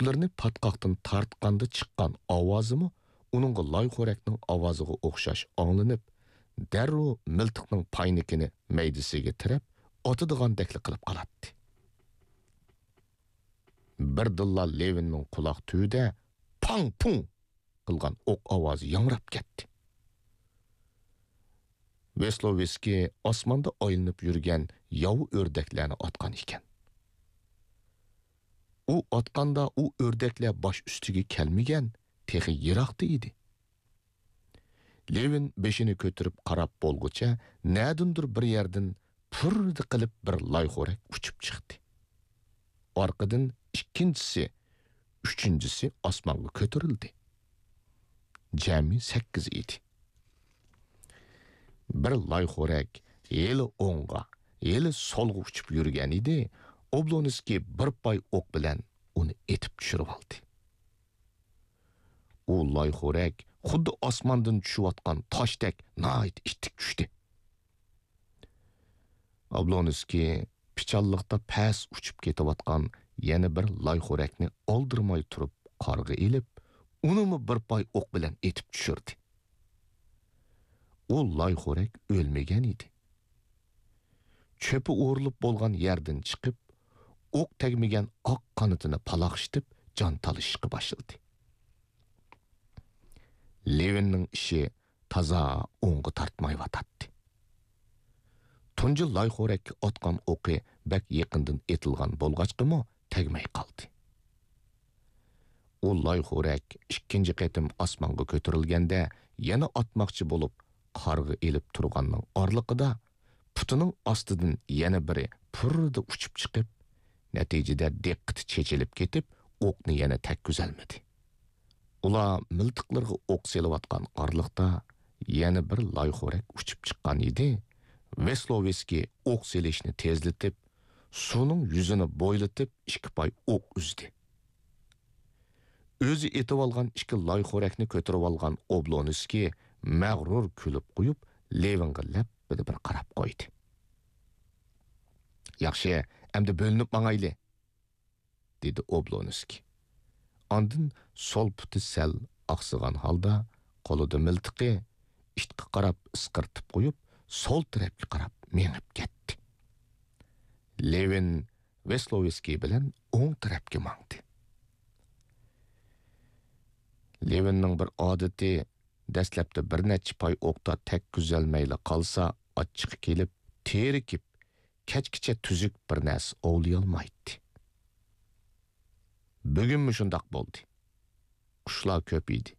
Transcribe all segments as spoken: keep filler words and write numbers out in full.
ئۇچلىرىنى پاتقاقتىن تارتقاندا چىققان ئاۋازىمۇ ئۇنىڭغا لايخورەكنىڭ ئاۋازىغا ئوخشاش ئاڭلىنىپ، دەررۇ مىلتىقنىڭ پاينىكىنى مەيدىسىگە تىرەپ، ئاتىدىغاندەكلا قىلىپ قالاتتى. بىردىنلا لېۋىننىڭ قۇلاق تۈۋىدە پاڭ-پۇڭ قىلغان ئوق ئاۋازى ياڭراپ كەتتى. ۋېسلوۋېسكىي ئاسماندا ئايلىنىپ يۈرگەن ياۋا ئۆردەكلەرنى ئاتقان ئىكەن. ئۇ ئاتقاندا ئۇ ئۆردەكلەر باش ئۈستىگە كەلمىگەن، تېخى يىراقتا ئىدى. لېۋىن بېشىنى كۆتۈرۈپ قاراپ بولغۇچە، نەدىندۇر بىر يەردىن پۇررىدە قىلىپ بىر لايخورەك ئۇچۇپ چىقتى. ئارقىدىن ئىككىنچىسى، ئۈچىنچىسى ئاسمانغا كۆتۈرۈلدى. جەمئىي سەككىز ئىدى. بىر لايخورەك ھېلى ئوڭغا، ھېلى سولغا ئۇچۇپ يۈرگەن ئىدى، ئوبلونسكىي بىر پاي ئوق بىلەن ئۇنى ئېتىپ چۈشۈرۈۋالدى. ئۇ لايخورەك خۇددى ئاسماندىن چۈشۈۋاتقان تاشتەك ناھايىتى ئىتتىك چۈشتى. ئابلونسكىي پىچانلىقتا پەس ئۇچۇپ كېتىۋاتقان يەنە بىر لايخورەكنى ئالدىرىماي تۇرۇپ قارغا ئېلىپ، ئۇنىمۇ بىر پاي ئوق بىلەن ئېتىپ چۈشۈردى. ئۇ لايخورەك ئۆلمىگەن ئىدى. چۆپى ئورۇلۇپ بولغان يەردىن چىقىپ، ئوق تەگمىگەن ئاق قانىتىنى پالاقشىتىپ جان تالىشىشقا باشلىدى. لېۋىننىڭ ئىشى تازا ئوڭغا تارتمايۋاتاتتى. تۇنجى لايخورەككە ئاتقان ئوقى بەك يېقىندىن ئېتىلغان بولغاچقىمۇ تەگمەي قالدى. ئۇ لايخورەك ئىككىنچى قېتىم ئاسمانغا كۆتۈرۈلگەندە، يەنە ئاتماقچى بولۇپ، قارغا ئېلىپ تۇرغاننىڭ ئارىلىقىدا پۇتىنىڭ ئاستىدىن يەنە بىرى پۇررىدە ئۇچۇپ چىقىپ، نەتىجىدە دىققىتى چېچىلىپ كېتىپ، ئوقنى يەنە تەگكۈزەلمىدى. ئۇلار مىلتىقلىرىغا ئوق سېلىۋاتقان ئارىلىقتا يەنە بىر لايخورەك ئۇچۇپ چىققان ئىدى. ۋېسلوۋېسكىي ئوق سېلىشنى تېزلىتىپ، سۇنىڭ يۈزىنى بويلىتىپ، ئىككى پاي ئوق ئۈزدى. ئۆزى ئېتىۋالغان ئىككى لايخورەكنى كۆتۈرۈۋالغان ئوبلونسكىي مەغرۇر كۈلۈپ قويۇپ، لېۋىنغا لەپپىدە بىر قاراپ قويدى. ياخشى، ئەمدى بۆلۈنۈپ ماڭايلى، دېدى ئوبلونسكىي. ئاندىن سول پۇتى سەل ئاقسىغان ھالدا قولىدا مىلتىقى ئىتقا قاراپ ئىسقىرتىپ قويۇپ، سول تەرەپكە قاراپ مېڭىپ كەتتى. لېۋىن ۋېسلوۋېسكىي بىلەن ئوڭ تەرەپكە ماڭدى. لېۋىننىڭ بىر ئادىتى، دەسلەپتە بىر نەچچە پاي ئوقتا تەگكۈزەلمەيلا قالسا، ئاچچىقى كېلىپ، تېرىكىپ، كەچكىچە تۈزۈك بىر نەرسە ئوۋلىيالمايتتى. بۈگۈنمۇ شۇنداق بولدى. قۇشلار كۆپ ئىدى.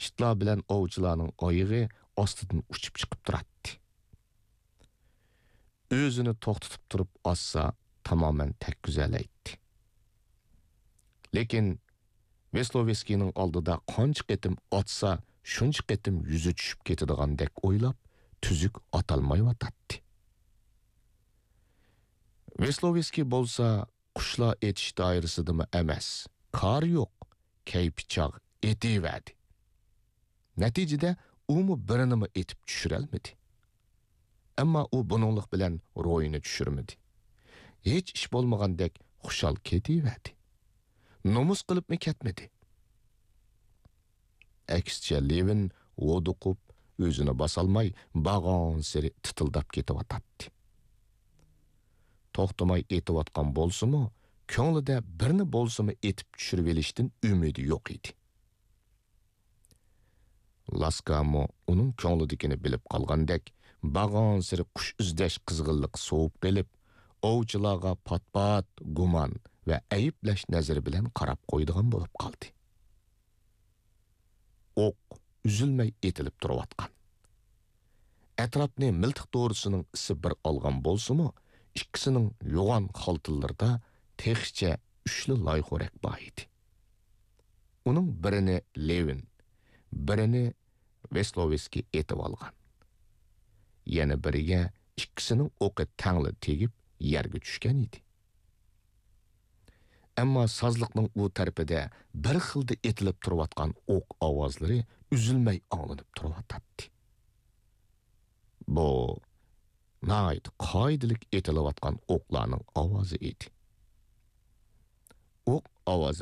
ئىتلار بىلەن ئوۋچىلارنىڭ ئايىغى ئاستىدىن ئۇچۇپ چىقىپ تۇراتتى. ئۆزىنى توختىتىپ تۇرۇپ ئاتسا، تامامەن تەگكۈزەلەيتتى. لېكىن ۋېسلوۋېسكىينىڭ ئالدىدا قانچە قېتىم ئاتسا، شۇنچە قېتىم يۈزى چۈشۈپ كېتىدىغاندەك ئويلاپ، تۈزۈك ئاتالمايۋاتاتتى. ۋېسلوۋېسكىي بولسا قۇشلار ئېتىش دائىرىسىدىمۇ ئەمەس، كارى يوق، كەيپى چاغ ئېتىۋەردى. نەتىجىدە ئۇمۇ بىرىنىمۇ ئېتىپ چۈشۈرەلمىدى. ئەمما ئۇ بۇنىڭلىق بىلەن روھىنى چۈشۈرمىدى. ھېچ ئىش بولمىغاندەك خۇشال كېتىۋەردى. نومۇس قىلىپمۇ كەتمىدى. ئەكسىچە، لېۋىن ھودۇقۇپ، ئۆزىنى باسالماي، بارغانسېرى تىتىلداپ كېتىۋاتاتتى. توختىماي ئېتىۋاتقان بولسىمۇ، كۆڭلىدە بىرنى بولسىمۇ ئېتىپ چۈشۈرۈۋېلىشتىن ئۈمىدى يوق ئىدى. لاسكامۇ ئۇنىڭ كۆڭلىدىكىنى بىلىپ قالغاندەك، بارغانسېرى قۇش ئىزدەش قىزغىنلىقى سوۋۇپ قېلىپ، ئوۋچىلارغا پات-پات گۇمان ۋە ئەيىبلەش نەزىرى بىلەن قاراپ قويىدىغان بولۇپ قالدى. ئوق ئۈزۈلمەي ئېتىلىپ تۇرۇۋاتقان. ئەتراپنى مىلتىق دورىسىنىڭ ئىسى بىر ئالغان بولسىمۇ، ئىككىسىنىڭ يوغان خالتىلىرىدا تېخىچە ئۈچلا لايخورەك بار ئىدى. ئۇنىڭ بىرىنى لېۋىن، بىرىنى ۋېسلوۋېسكىي ئېتىۋالغان. يەنە بىرىگە ئىككىسىنىڭ ئوقى تەڭلا تېگىپ، يەرگە چۈشكەن ئىدى. ئەمما سازلىقنىڭ ئۇ تەرىپىدە بىر خىلدا ئېتىلىپ تۇرۇۋاتقان ئوق ئاۋازلىرى ئۈزۈلمەي ئاڭلىنىپ تۇرۇۋاتاتتى. بۇ ناھايىتى قائىدىلىك ئېتىلىۋاتقان ئوقلارنىڭ ئاۋازى ئىدى. ئوق ئاۋازى